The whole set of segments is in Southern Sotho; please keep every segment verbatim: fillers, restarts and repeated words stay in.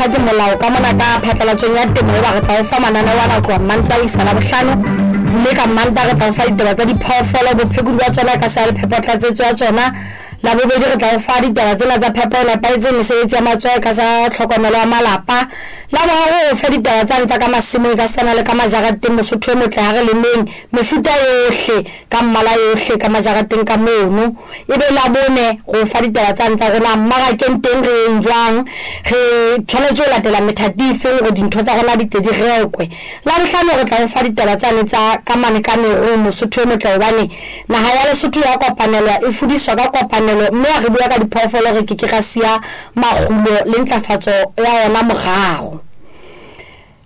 tlangwa ke molao ka mona ka phatlalatsong ya temo eba re tla o fa mananeo ana ho tloha Mantaha ho isa Labohlano. Mme ka Mantaha re tla o fa ditaba tsa diphoofolo, bophekodi ba tsona ka sa le phepotlatsetso ya tsona. Labobedi re tla o fa ditaba tsena tsa phepo e nepahetseng, mesebetsi ya matsoho ka sa tlhokomelo ya malapa. Laboraro o fe ditaba tsane tsa ka masimong ka sana le ka majareteng, Mosotho e motle ha re lemeng mefuta yohle ka mmala yohle ka majareteng ka mono. Ebe Labone re o fa ditaba tsane tsa rona mmarakeng teng re eng jwang, re tshwanetse ho latela methati e feng hore dintho tsa rona di tle di rekwe. Labohlano re tla o fa ditaba tsane tsa ka mane ka merung, Mosotho e motle, hobane naha ya Lesotho ya kopanelwa, e fudiswa ka kopanelo, mme ha re bua ka diphoofolo re ke ke ra siya makgulo le ntlafatso ya ona morao.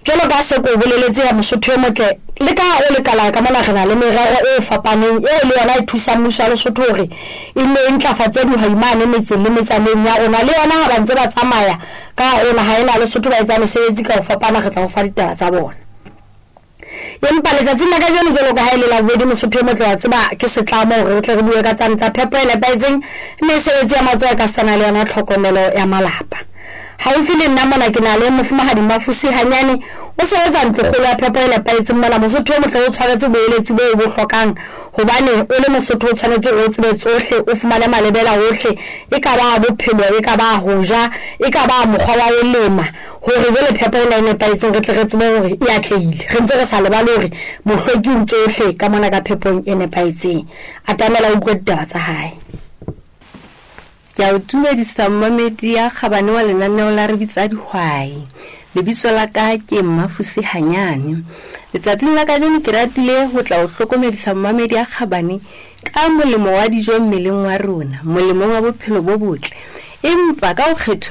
Jwalo ka se ko boleletse ya Mosotho e motle, le ka o lekala ka mona re na le merero e fapaneng eo le yona e thusang mmuso wa Lesotho hore e nne e ntlafatse dihwai mane metseng le metsaneng ya rona. Le yona ha ba ntse ba tsamaya ka hare ho naha ena ya Lesotho ba etsa mesebetsi ka ho fapana, re tla o fa ditaba tsa bona. Empa letsatsing la kajeno jwalo ka ha e le Labobedi, Mosotho e motle, wa tseba ke setlamo hore re tle re bue ka tsane tsa phepo e nepahetseng, mesebetsi ya matsoho ka sana le yona tlhokomelo ya malapa. Haufi le nna mona ke na le mofumahadi Mafusi Hanyane, o sebetsa ntlokgolo ya phepo e nepahetseng mona. Mosotho e motle o tshwaretse boeletsi boo bo hlokang, hobane o le Mosotho o tshwanetse o tsebe tsohle, o fumane malebela hohle, e ka ba bophelo, e ka ba ho ja, e ka ba mokgwa wa ho lema, hore jwale phepo ena e nepahetseng re tle re tsebe hore e atlehile. Re ntse re sa lebale hore mohlweki o tsohle ka mona ka phepong e nepahetseng. Atamela o utlwe ditaba tsa hae. Ke a o dumedisa mmamedi ya kgabane wa lenaneo la Re Bitsa Dihwai. Lebitso la ka ke Mmafusi Hanyane. Letsatsing la kajeno ke ratile ho tla o hlokomedisa mmamedi ya kgabane ka molemo wa dijo mmeleng wa rona, molemong wa bophelo bo botle. Empa ka ho kgetho